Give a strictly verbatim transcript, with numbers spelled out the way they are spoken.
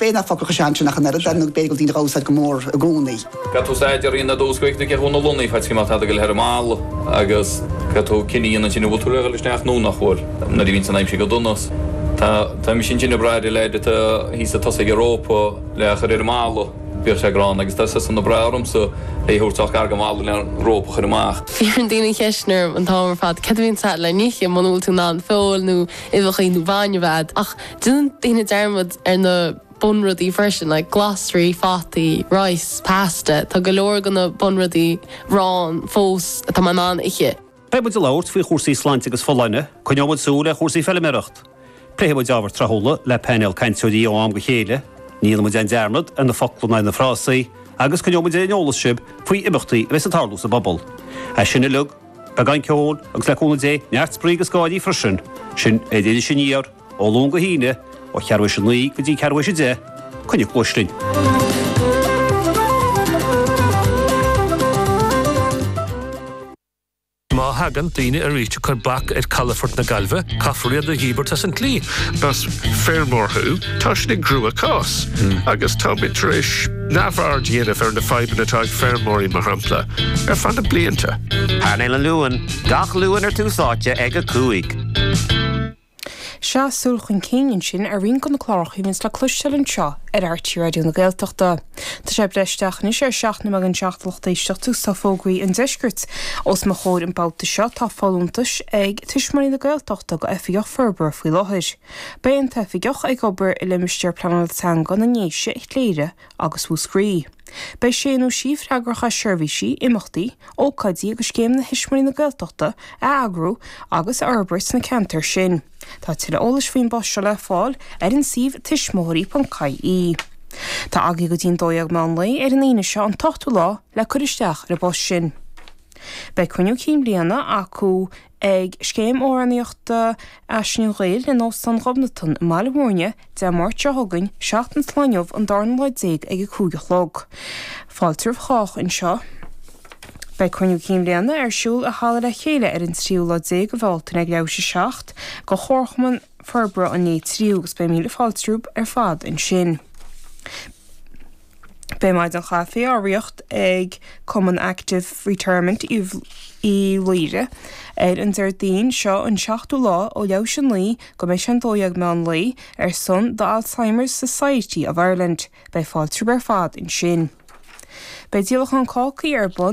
B'fhéidir nach focal chomh sean sin ach an oiread nó b'fhéidir go daoine á úsáid go mór i gcónaí. Caithfidh tú staidéar a dhéanamh ar dtús go bhfeicfidh tú cé chomh na lonnaí fad cé tá go ar an mballa agus caithfidh tú cinneadh a dhéanamh ansin an bhfuil tú le dhul isteach nó nach bhfuil nuair a bhíonn san aimsir go dona. Tá tá mise ansin ag brath ar leaid atá thíos ag tosaigh ar rópa le a chur ar an mballa bíodh sé gránna agus tá sé san ag brath ormsa é a thabhairt gar don bhalla le an rópa a chur amach. Iarrann daoine ceisteanna orm an t-am ar fad cad a bhíonn agat le n-ithe muna bhfuil tú in ann feoil nó uibheacha nó bainne a bheith ach déanann daoine dearmad ar na bunrudaí freisin like glasraí, fataí, rice, pasta, tá go leor de na bunrudaí arán fós atá mé in ann ithe. Beidh muid ag labhairt faoi chúrsaí sláinte agus folláine, coinneoidh muid súil ar chúrsaí feilméarachta. Pléifidh muid ábhair tráthúla le painéal cainteoirí ó am go chéile, ní dhéanfaidh muid aon dearmad ar na focla ná na frásaí, agus coinneoidh muid ar an eolas sibh faoi imeachtaí a bheas ag tarlú sa bpobal. É sin uilig, beagán ceoil agus le cúnamh Dé neart spraoi agus gáirí freisin, sin ar Iris Aniar, ó Luan go hAoine, ó cheathrú théis a naoi go dtí ceathrú théis a deich, coinnigh cluais linn. Má thagann daoine arís ag cur bac ar chalafort na Gaillimhe, caithfear iad a dhíbirt as an tslí. Más feirmeoir thú, tá sin i gcruachás agus táimid tar éis neamhaird a dhéanamh ar na fadhbanna atá ag feirmeoirí mar shampla ar feadh na blianta. Painéal an Luain, gach Luan ar Tús Áite ag a cúig. Sea, súil chun cinn ansin ar roinnt de na cláracha a bhíonns le cloisteáil anseo ar RTÉ Raidió na Gaeltachta. Tá sé ag breith isteach anois ar seacht nóiméad don seacht a lucht éisteachta agus tá fógraí an deiscirt os mo chomhair an babhta seo. Tá folúntais ag Tuismitheoirí na Gaeltachta do Oifigeach Forbartha faoi láthair. Beidh an t-oifigeach ag obair i limistéar pleanála teanga na nDéise, Chléire agus Mhúscraí. Beidh sé nó sí freagrach as seirbhísí, imeachtaí, ócáidí agus scéimeanna Thuismitheoirí na Gaeltachta a eagrú agus a fhorbairt sna ceantair sin. Tá tuilleadh eolais faoin bpost seo le fáil ar an suíomh tuismitheoirí.ie. Tá agaibh go dtí an dó dhéag meán lae ar an Aoine seo an t-ochtú lá le cur isteach ar an bpost sin. Beidh cruinniú cinn bliana acu ag Scéim Amhránaíochta Fhaisean an Ghaeil in Óstán Ghobnatan i mBaile Mhúirne Dé Máirt seo chugainn, seachtain sa lá inniu, an darna lá déag ag a cúig a chlog. Fáilte roimh chách anseo. Beidh cruinniú cinn bhliana ar siúl i Halla Le Chéile ar an tríú lá déag de Bhealtaine ag leathuair tar éis a seacht do Chomharchumann Forbartha an Léith Triú agus beidh míle fáilte romhaibh ar fad ansin. Beidh maidin chaife á reáchtáil ag Cumann Active Retirement Uí Laoire ar an Déardaoin seo an seachtú lá ó leathuair tar éis a naoi go mbeidh sé an dó dhéag meán lae ar son The Alzheimer's Society of Ireland. Beidh fáilte romhaibh ar fad ansin. Beidh díolachán cácaí ar bun